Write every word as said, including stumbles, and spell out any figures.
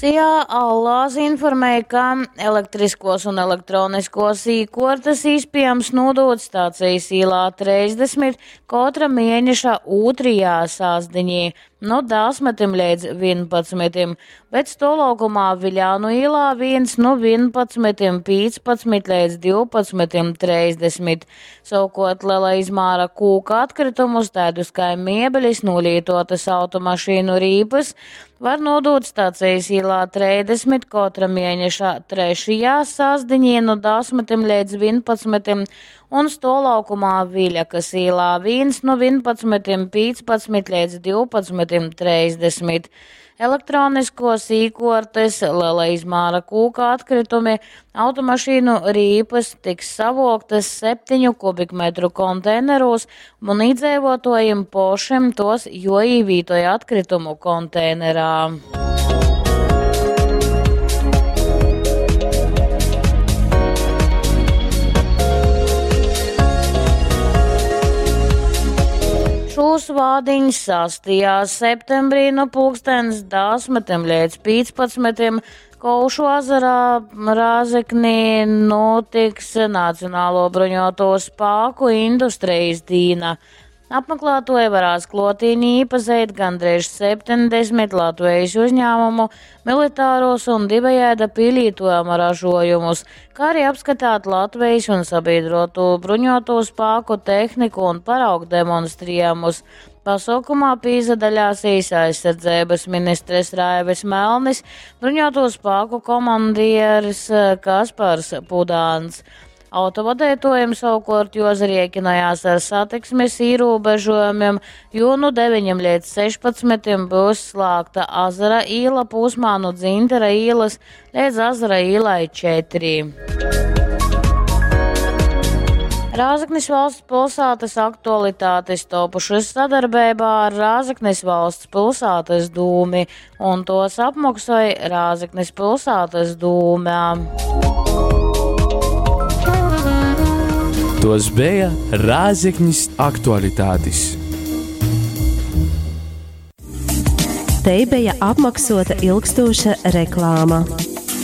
S I A Allās informēja, ka elektriskos un elektroniskos īkuortas īspiejams nūdūt Stacijas īlā treisdesmit kotra mieneša ūtrajā sastdiņī nu desmitim leidz vienpadsmitim, bet stuovlaukumā Viļānu īlā viens nu vienpadsmitim pīcpadsmit leidz divpadsmitim treisdesmit. Savukārt liela izmēra kūka atkritumus, tādus kā miebelis, nolītotas automašīnu rīpas, var nodot Stacijas īlā treisdesmit kotra mēneša trešajā sastdiņī nu desmitim leidz vienpadsmitim un stuovlaukumā Viļakas īlā viens nu vienpadsmitim pīcpadsmit leidz divpadsmitim treisdesmit. Elektroniskos īkortes, liela izmēra kūka atkritumi, automašīnu rīpas tiks savoktas septiņu kubikmetru konteineros un iedzīvotājiem pošiem tos joīvītoja atkritumu konteinerā. Šūs vādiņas sastajā septembrī no pulkstens desmitim līdz pīcpadsmitim Kovšu ezerā Rēzeknī notiks Nacionālo bruņoto spēku industrijas dīna. Apmeklētoji varēs klotīni iepazīt gandrīz septiņdesmit Latvijas uzņēmumu, militāros un divējāda pielietojuma ražojumus, kā arī apskatāt Latvijas un sabiedroto bruņoto spēku tehniku un paraugu demonstrējumus. Pasaukumā pīzadaļāsīs aizsardzības ministres Raivis Melnis, bruņoto spēku komandieris Kaspars Pudāns. Autovadētojiem savukārt jozariekinājās ar satiksmes ierobežojumiem, jo nu deviņiem līdz sešpadsmitiem būs slēgta Azara īla posmā no Dzintara īlas līdz Azara īlai četri. Rēzeknes valsts pilsētas aktualitātes topušas sadarbībā ar Rēzeknes valsts pilsētas dūmi, un tos apmaksāja Rēzeknes pilsētas dūmē. Tos bija Rēzeknis aktualitātes. Te bija apmaksota ilgstoša reklāma.